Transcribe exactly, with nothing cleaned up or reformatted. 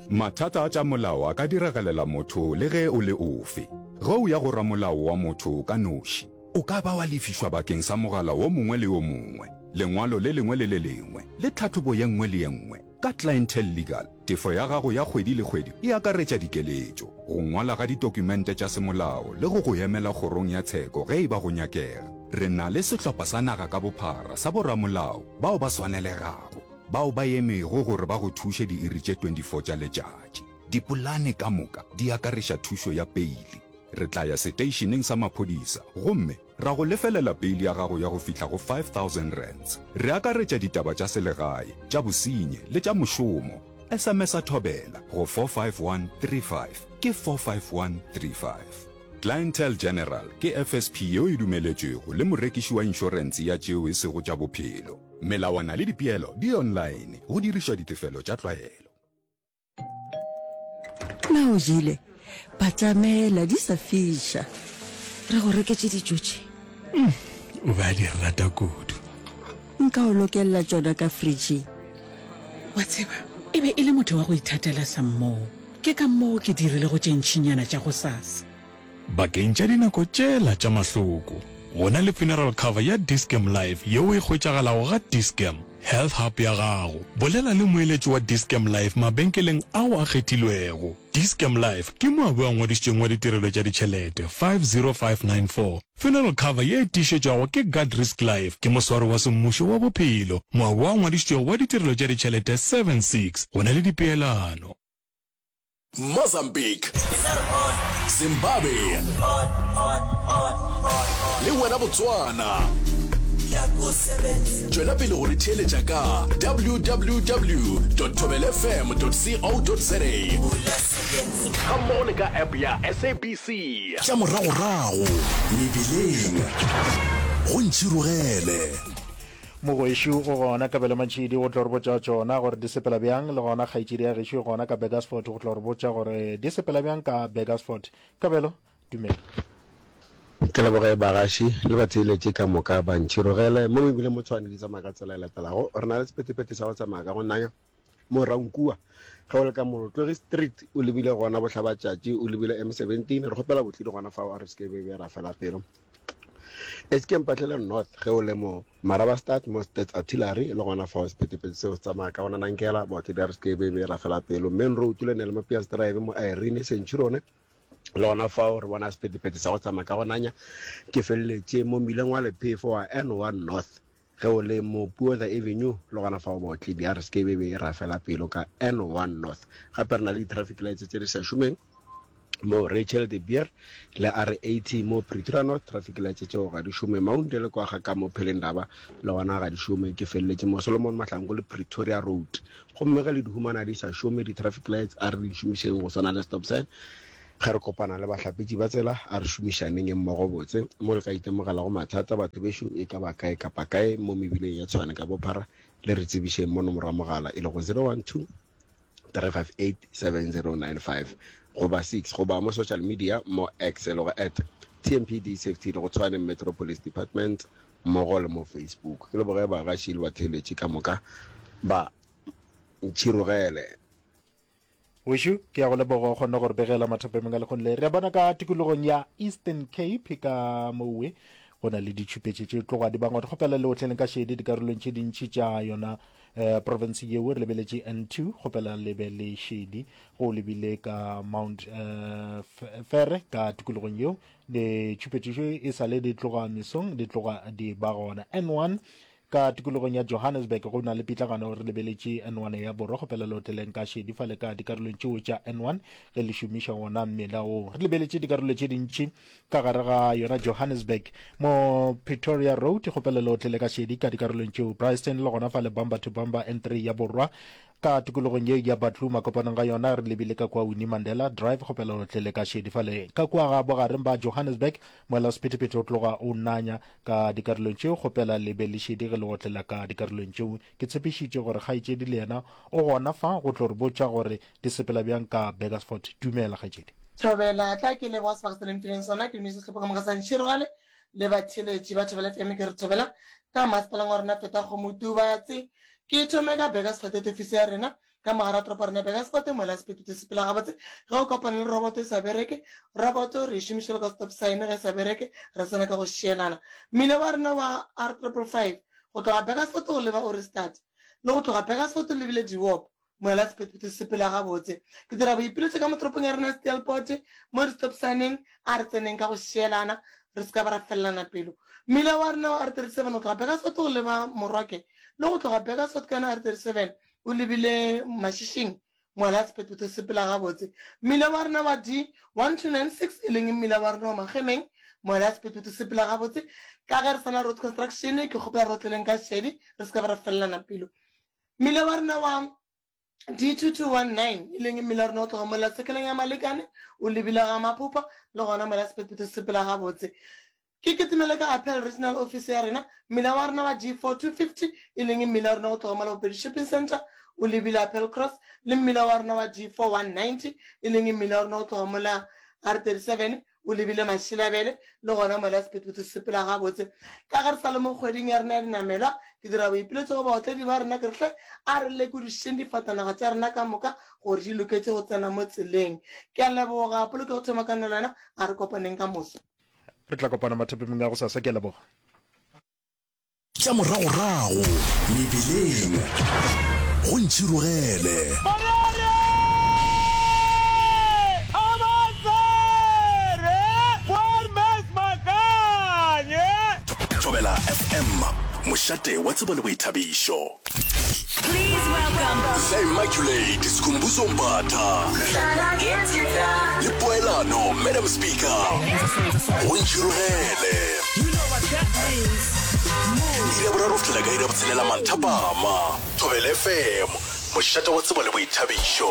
Mathata a tša molao a ka diragalela motho le ge o le ofe. Ge o ya go ramolao wa motho ka noši, o ka ba wa lefišwa bakeng sa mogala wo mongwe le yo mongwe, lengwalo le lengwe le le lengwe, le tlhahlobo ye nngwe le ye nngwe. Ka Clientele Legal, tefo ya gago ya kgwedi le kgwedi e akaretša dikeletšo, go ngwala ga ditokumente tša semolao le go go emela kgorong ya tsheko ge e ba go nyakega. Re na le sehlopha sa naga ka bophara sa boramolao bao ba swanelegago, bao ba emego gore ba go thuše diiri tše twenty four tša letšatši. Dipolane ka moka di akareša thušo ya peili. Re tla ya seteišeneng sa maphodisa gomme ra go lefelela peili ya gago ya go fihla go five thousand rands. Re akaretša ditaba tša selegae, tša bosenyi le tša mošomo. S M S-a Thobela go four five one three five, ke four five one three five. Clientele General ke F S P yeo e dumeletšwego le morekiši wa inšorense ya tšeo e sego tša bophelo. Melawana le dipeelo di online go dirišwa ditefelo tša tlwaelo. Na o jele? Batamela di sa fiša. Re go reketše dijo tše. Mm, o be a di rata kudu. Nka o lokelela tšona ka fridging. Wa tseba, e be e le motho wa go ithatela sa mmoo. Ke ka moo ke dirilego tše ntšinyana tša gosasa. Bakeng tša dinako tšela tša mahloko, go na le funeral cover ya Dis-Chem Life yeo e hwetšagalago ga Dis-Chem Health Hub ya gago. Bolela le moeletši wa Dis-Chem Life mabenkeleng ao a kgethilwego. Dis-Chem Life ke moabi wa ngwadišitšweng wa ditirelo tša ditšhelete five zero five nine four Funeral cover ye e tiišetšwago ke Guard Risk Life ke moswaro wa semmušo wa bophelo, moabi wa ngwadišitšwego wa ditirelo tša ditšhelete seven six Go na le dipeelano. Mozambique, Zimbabwe le wena Botswana. Tšwela pele go re theeletša ka W W W dot thobelfm dot co dot za gammogo le ka app ya S A B C. Tša moragorago mebileng go ntšhirogele. Mogwešo o gona Kabelo Mantšhidi go tlo re botša tšona gore di sepela bjang, le gona kgaetšedi ya gešo e gona ka Burgersfort go tlo re botša gore di sepela bjang ka Burgersfort. Kabelo, dumela. Ke leboge bagaši le batheeletši ka moka ba ntšhirogele mo mebileng mo Tshwane di tsamaya ka tsela e latelago. Re na le sephethephethe sa go tsamaya ka go nanya mo Rankua ge o le ka Molotlogi Street o lebile gona bohlabatšatši o lebile M seventeen re kgopela botlidi gona fao a re se ke be be ra fela pelo. S K Mpahlele North ge o le mo Marabastad mo Stats Artillery le gona fao sephethephethe seo se tsamaya ka gona nankela baotledi a re se ke be be ra fela pelo. Main Road le ne le Mapias Drive mo Irene Centurion le gona fao re bona sephethephethe sa go tsamaya ka go nanya. Ke feleletše mo mmileng wa lephefo wa N one North ge o le mo Puotha Avenue le gona fao baotledi a re se ke be be ra fela pelo ka N one North. Gape re na le di-traffic lights tše di sa šomeng mo Rachel de Beer le R eighty mo Pretoria North, traffic lights tšeo ga di šome. Mount le kwa ga ka mo Phelendaba le gona ga di šome. Ke feleletše mo Solomon Mahlangu le Pretoria Road. Gomme ge le di humana di sa šome di-traffic lights, a re di šomišeng go swana le stop sign. Ge re kopana le bahlapetši ba tsela, a re šomišaneng mmogo botse. Mo le ka itemogelago mathata batho bešo e ka ba kae kapa kae mo mebileng ya Tshwane ka bophara, le re tsebišeng mo nomoro ya mogala e lego zero one two three five eight seven zero nine five goba six goba mo social media mo X e lego at T M P D Safety le go Tshwane Metro Police Department mmogo le mo Facebook. Ke leboge bagaši le batheeletši ka moka ba ntšhirogele. Wešo, ke ya go leboga o kgonne go re begela mathapameng a lekgong le. Re a bona ka tikologong ya Eastern Cape ka mowe go na le ditšhupetše tše tloga di bangwa. Re kgopela le otleleng ka šedi dikarolong tše dintši tša yona eh, province yeo. Re lebeletše N two, kgopela le be le šedi go lebile ka Mount eh, Fere ka tikologong yeo. Ditšhupetšo e sa le di tloga mesong, di tloga di ba gona. N one ka tikologong ya Johannesburg go na le pitlagano, re lebeletše N one ya borwa, kgopela le otleleng ka šedi fale ka dikarolong tšeo tša N one ge le šomiša wona mmela wo. Re lebeletše dikarolo tše dintši ka gare ga yona Johannesburg mo Pretoria Road, kgopela le otlele ka šedi ka dikarolong tšeo. Bryanston le gona fale bumper to bumper N three ya borwa ka tikologong ye ya Batlu makopanong ga yona, re lebile ka kua Winnie Mandela Drive, kgopela le otlele ka šedi fale ka kua ga bogareng ba Johannesburg moela sephethephethe o tloga o nanya ka dikarolong tšeo, kgopela le be le šedi ge le otlela ka dikarolong tšeo. Ke tshepišitše gore kgaetšedi le yena o gona fa go tlo re botša gore di sepela bjang ka Burgersfort. Dumela kgaetšedi. Thobela tla ke leboga sebaka se le mphileng sona. Ke dumedisa sehlopha ka moka sa Ntšhirogale le batheeletši ba Thobela F M. Ke re thobela ka masepaleng wa rena Feta Kgomo Tubatse. Ke thome ka Burgersfort ofisi ya rena ka mogare wa toropo ya rena Burgersfort mola sephethephethe se sepela gabotse. Ge o kopana le roboto e sa bereke, roboto re e šomiša bjalo ka stop sign ge e sa bereke re tsena ka go šielana. Mmila wa rena wa R triple five go tloga Burgersfort go leba Ohrigstad le go tloga Burgersfort o lebile Dewop mola sephethephethe se sepela gabotse. Ke dira boipiletšo ka mo toropong ya rena ya Steelpoort mo di-stop sign-eng a re tseneng ka go šielana re se ka ba ra felelana pelo. Mmila wa rena wa R thirty seven go tloga Burgersfort go leba Morwake le go tloga Burgersfort ka yona R thirty seven o lebile Mašišing mola sephethephethe se sepela gabotse. Mmila wa rena wa D one two nine six e leng mmila wa rena wa Magemeng mola sephethephethe se sepela gabotse. Ka ge re sa na road construction ke kgopela re otleleng ka šedi re se ka ba ra felelana pelo. Mmila wa rena wa D two two one nine e leng mmila wa rena o tloga mola sekeleng ya Malekane o lebile ga Maphopha le gona mola sephethephethe se sepela gabotse. Ke kitimele ka Appel Regional Office ya rena, mmila wa rena wa G four two fifty e leng mmila wa rena go tloga mola Bopedi Shopping Centre o lebile Appel Cross le mmila wa rena wa G four one ninety e leng mmila wa rena go tloga mola R thirty seven o lebile Mashilabele le gona mola sephethephethe se sepela gabotse. Ka ge re sa le mo kgweding ya rena ya dinamelwa, ke dira boipiletšo go baotledi ba rena ke re hle a re lekodišišeng difatanaga tša rena ka moka gore di loketše go tsena mo tseleng. Ke a leboga polokego thoma ka nna le wena, a re kopaneng ka moso. Re tla kopana mathapemeng a gosasa. Ke a leboga. Tša moragorago mebileng go ntšhirogele. Thobela F M, mošate wa tsebo le boithabišo. The Immaculate Skhumbuzo Mbatha le Poelano Madam Speaker go ntšhirogele. Iri ya boraro go fihlela ka iri ya botshelela manthapama. Thobela F M, mošate wa tsebo le boithabišo.